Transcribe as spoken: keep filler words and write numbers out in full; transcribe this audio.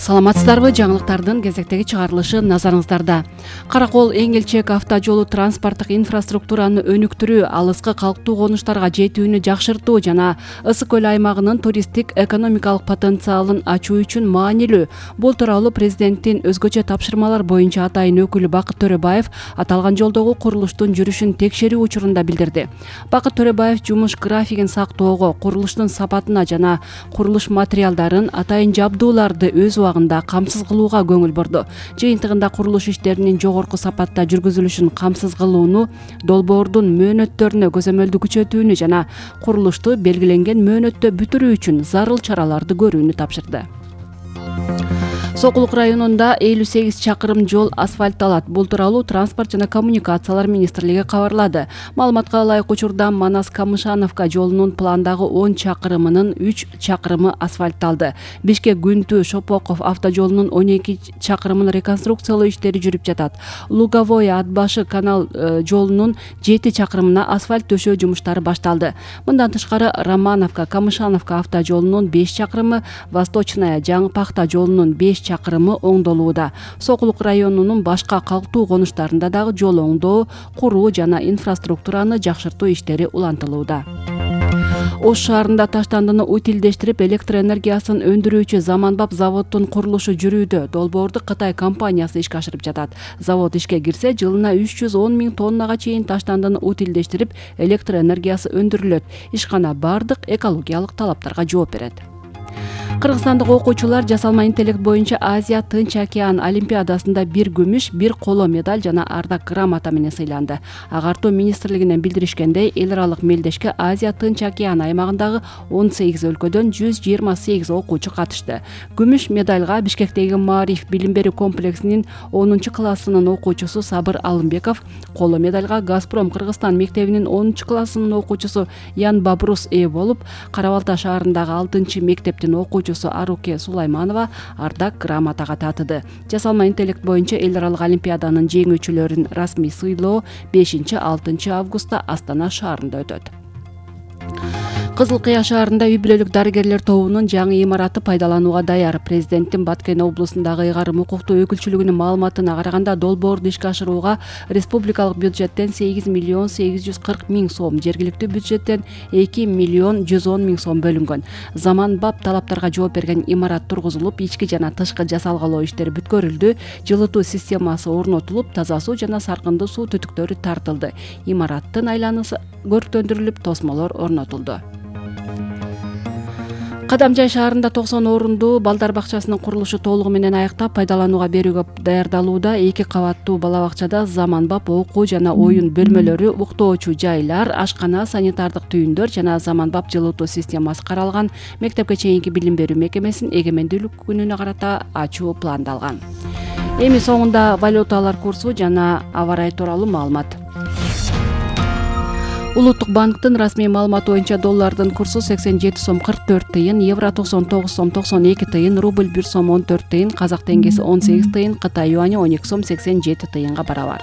Саламатсыздарбы? Жаңылыктардын кезектеги чыгарылышы назарыңыздарда. Каракол Эңилчек автожолу транспорттук инфраструктураны өнүктүрүү, алыскы калктуу конуштарга жетүүнү жакшыртуу жана Ысык көл аймагынын туристтик экономикалык потенциалын ачуу үчүн маанилүү. Бул тууралуу президенттин өзгөчө тапшырмалар боюнча атайын өкүлү Бакыт Төрөбаев аталган жолдогу курулуштун жүрүшүн текшерүү учурунда билдирди. Бакыт Төрөбаев жумуш графигин сактоого, курулуштун сапатына жана курулуш материалдарын, атайын жабдууларды өз убагында камсыз кылууга көңүл бурду. Жыйынтыгында курулуш иштеринин жогорку сапатта жүргүзүлүшүн камсыз кылууну, долбоордун мөөнөттөрүнө көзөмөлдү күчөтүүнү жана курулушту белгиленген мөөнөттө бүтүрүү үчүн зарыл чараларды көрүүнү тапшырды. Сокулук районунда элүү сегиз чакырым жол асфальтталат. Бул тууралуу Транспорт жана коммуникациялар министрлиги кабарлады. Маалыматка ылайык учурда Манас-Камышановка жолунун пландагы он чакырымынын үч чакырымы асфальтталды. Бишкек-Күнтү-Шопоков автожолунун он эки чакырымын реконструкциялоо иштери жүрүп жатат. Луговое-Ат-Башы канал жолунун жети чакырымына асфальт төшөө жумуштары башталды. Мындан тышкары Романовка-Камышановка автожолунун беш чакырымы, Восточная-Жаңы Пахта жолунун беш чакырымы оңдолууда. Сокулук районунун башка калктуу конуштарында дагы жол оңдоо, куруу жана инфраструктураны жакшыртуу иштери улантылууда. Ош шаарында таштандыны утилдештирип, электр энергиясын өндүрүүчү Заманбап заводдун курулушу жүрүүдө. Долбоорду Кытай компаниясы ишке ашырып жатат. Завод ишке кирсе, жылына үч жүз он миң тоннага чейин таштандыны утилдештирип, электр энергиясы өндүрүлөт. Ишкана бардык экологиялык талаптарга жооп берет. Кыргызстандык окуучулар жасалма интеллект боюнча Азия Тынч океан олимпиадасында бир күмүш, бир коло медаль жана ардак грамота менен сыйланды. Агартуу министрлигинен билдиришкендей, эл аралык мелдешке Азия Тынч океан аймагындагы он сегиз өлкөдөн жүз жыйырма сегиз окуучу катышты. Күмүш медальга Бишкектеги Маариф билим берүү комплексинин онунчу классынын окуучусу Сабыр Алымбеков, коло медальга Газпром Кыргызстан мектебинин онунчу классынын окуучусу Ян Бабрус ээ болуп, Кара-Балта шаарындагы алтынчы мектептин окуучусу Аруке Сулайманова ардак грамотага татыды. Жасалма интеллект боюнча эл аралык олимпиаданын жеңүүчүлөрүн расмий сыйлоо бешинчи-алтынчы августта Астана шаарында өтөт. Кызыл Кыя шаарында үй бүлөлүк дарыгерлер тобунун жаңы имараты пайдаланууга даяр. Президенттин Баткен облусундагы ыйгарым укуктуу өкүлчүлүгүнүн маалыматына караганда, долбоорду ишке ашырууга республикалык бюджеттен сегиз миллион сегиз жүз кырк миң сом, жергиликтүү бюджеттен эки миллион жүз он миң сом бөлүнгөн. Заманбап талаптарга жооп берген имарат тургузулуп, ички жана тышкы жасалгалоо иштери бүткөрүлдү, жылытуу системасы орнотулуп, таза суу жана саркындуу суу түтүктөрү тартылды. Имараттын айланасы көрктөндүрүлүп, тосмолор орнотулду. Кадамжай шаарында токсон орундуу балдар бакчасынын курулушу толугу менен аяктап, пайдаланууга берүүгө даярдалууда. Эки кабаттуу бала бакчада заманбап окуу жана оюн бөлмөлөрү, уктоочу жайлар, ашкана, санитардык түйүндөр жана заманбап жылытуу системасы каралган. Мектепке чейинки билим берүү мекемесин эгемендүүлүк күнүнө карата ачуу пландалган. Эми соңунда валюталар курсу жана аба ырайы тууралуу маалымат. Улуттук банктын расмий маалыматы боюнча доллардын курсу сексен жети сом кырк төрт тыйын, евро токсон тогуз сом токсон эки тыйын, рубль бир сом он төрт тыйын, казак теңгеси он сегиз тыйын, Кытай юаню он эки сом сексен жети тыйынга барабар.